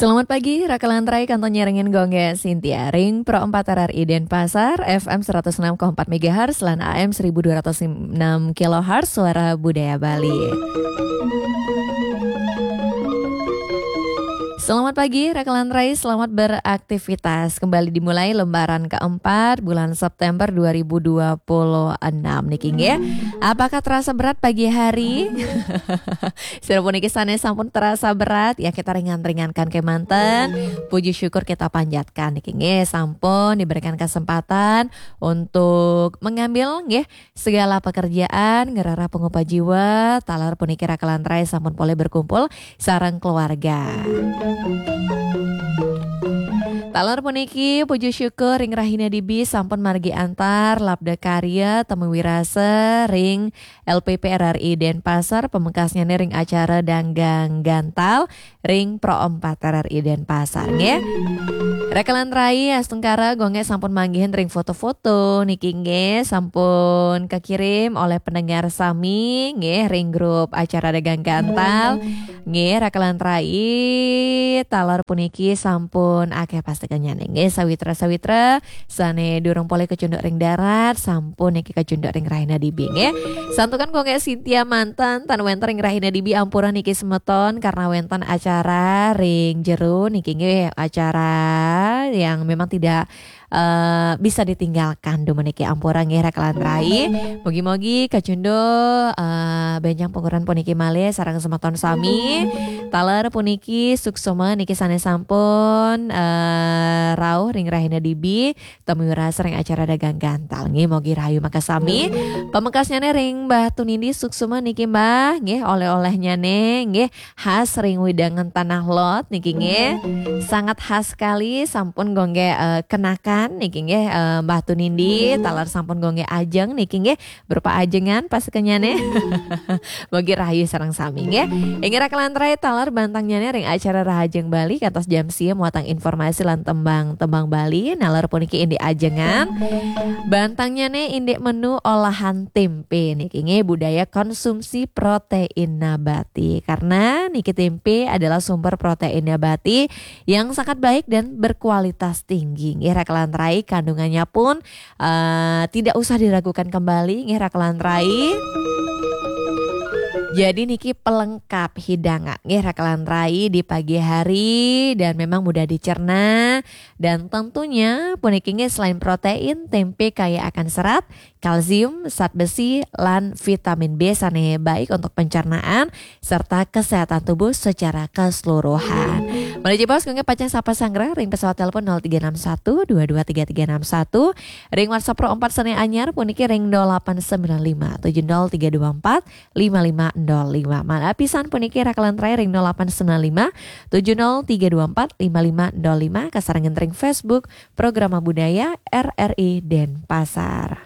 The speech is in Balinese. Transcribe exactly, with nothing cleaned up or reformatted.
Selamat pagi, Raka Lantrai, kantun nyarengin gongge Sintia ring Pro empat R R I Denpasar, F M seratus enam koma empat megahertz, lan A M seribu dua ratus enam kilohertz, Suara Budaya Bali. Selamat pagi, Raka Lantrai, selamat beraktivitas. Kembali dimulai lembaran keempat bulan September dua ribu dua puluh enam niki, nggih. Apakah terasa berat pagi hari? Sira puniki sane sampun terasa berat, ya kita ringan-ringankan kemanten. Puji syukur kita panjatkan niki, nggih, sampun diberikan kesempatan untuk mengambil, nggih, segala pekerjaan, ngerara pengupa jiwa, taler puniki Raka Lantrai sampun polih berkumpul sareng keluarga. Taler puniki, puji syukur ring rahina dibi sampun margi antar, labda karya, temu wirasa ring L P P R R I Denpasar, pamekasnyane ring acara Danggang Gantal ring Pro empat R R I Denpasar, nggih. Raka Lantrai, astungkara gongge sampun manggihin ring foto-foto niki, nggih, sampun kakirim oleh pendengar sami, nggih, ring grup acara Dagang Gantal. Nggih, Raka Lantrai, taler puniki sampun akeh pastekenyane, nggih, sawitra-sawitra sane durung polih kacunduk ring darat, sampun niki kacunduk ring rahina dibi, nggih. Santukan gongge Sintia manten, tan wenten ring rahina dibi, ampura niki semeton, karena wenten acara ring jero niki, nggih, acara yang memang tidak, eh, bisa ditinggalkan dumun niki, ampura, nggih, Raka Lantrai. Mugi-mugi kacunduk, eh, benjang panguran puniki malih sareng semeton sami. Taler puniki suksma niki sane sampun, eh, rauh ring rahina dibi, temu wirasa ring acara Dagang Gantal, nggih, mugi rahayu makasami. Pamekasnyane ring Mbah Tunindi, suksma niki, Mbah, nggih, oleh-olehnyane, nggih, khas ring wewidangan Tanah Lot niki, nggih. Sangat khas sekali, sampun gongge, eh, kenakan niki, nggih, eh, Mbah Tunindi, taler sampun gongge ajeng niki, nggih, berupa ajengan pastekenyane. Mugi rahayu sareng sami, nggih. Inggih, Raka Lantrai, taler bantangnyané ring acara Rahajeng Bali kantos jam sia muatang informasi lan tembang-tembang Bali. Naler puniki indik ajengan. Bantangnyané indik menu olahan tempe niki, nggih, budaya konsumsi protein nabati. Karena niki tempe adalah sumber protein nabati yang sangat baik dan berkualitas tinggi. Nggih, Raka Lantrai, kandungannya pun eh, tidak usah diragukan kembali, nggih, Raka Lantrai. Jadi niki pelengkap hidangan, nggih, Raka Lantrai, di pagi hari dan memang mudah dicerna. Dan tentunya puniki, nggih, selain protein, tempe kaya akan serat, kalsium, zat besi, lan vitamin B sane baik untuk pencernaan serta kesehatan tubuh secara keseluruhan. Malih jebos, kangge pacang sapa sanggra ring pesawat telepon nol tiga enam satu dua dua tiga tiga enam satu, ring WhatsApp Pro empat sane anyar puniki ring nol delapan sembilan lima tujuh nol tiga dua empat lima lima nol lima. Malih pisan puniki Raka Lantrai ring nol delapan sembilan lima tujuh nol tiga dua empat lima lima nol lima, kasarengan ring Facebook Programa Budaya R R I Denpasar.